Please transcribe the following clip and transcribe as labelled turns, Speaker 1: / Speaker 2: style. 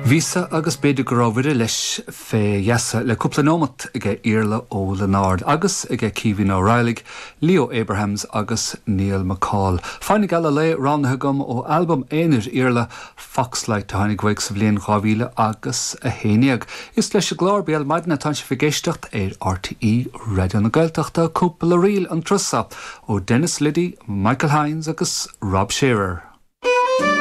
Speaker 1: Bhíos-sa agus b'fhéidir go raibh Mhuire leis fé gheasa le cúpla neomat aige Iarla Ó Lionáird agus aige Caoimhín Ó Raghallaigh, Leo Abrahams agus Niall McCall. Fáinne Geal an Lae roghnaithe agam ó albam aonair Iarla, Foxlight, a tháinig uaidh sa bhliain 2000 agus 11. Is leis an gclár Béal Maidine atánn sibh ag éisteacht ar RTÉ Raidió na Gaeltachta. Cúpla ríl an turas seo ó Denis Liddy, Michael Hynes agus Rob Shearer.